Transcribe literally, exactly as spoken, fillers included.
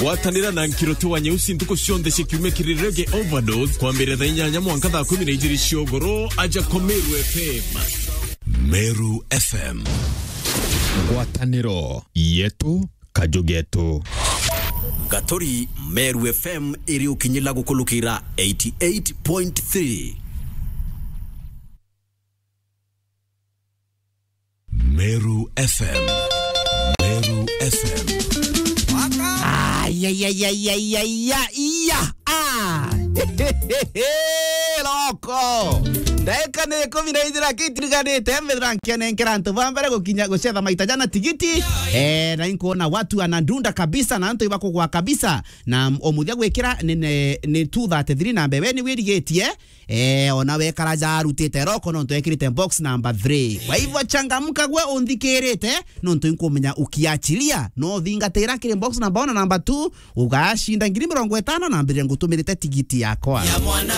Gwatanira na Nkiroti wa Nyeusi ntuku cionthe cia kiumia kiri Reggae Overdose, kwambiriria thaa inyanya mwanka thaa kumi na ijiri cia ugoro, aja kwa Meru F M. Meru F M. Ngwataniro yetu, kaju getu. Gaturi, Meru F M iri ukinyila gukulukira eighty eight point three. Meru F M. Meru F M. Ayayayayayaya, iya, ah. Loko. Ndaika ni ikumi na ijiri akitiriganite, mbithira nkianenkera antu ba mbere gukinya gucetha maita jana tigiti. Eh, na inkuona watu anadunda kabisa, na antu ibakugwa kabisa. Na o muthia gwikira ni, ni, ni two thirty-three na mbere, we ni wirigitie. Eh, ona wekara ja arutite roko nontu ekirite box number three. Kwa hivyo changamka gwe unthikirite, nontu inkumenya ukiachilia. No thingatira kiri box number one na number two, ugashinda ngiri mirongo itano na mbere ngutumirite tigiti yakwa. Ya mwana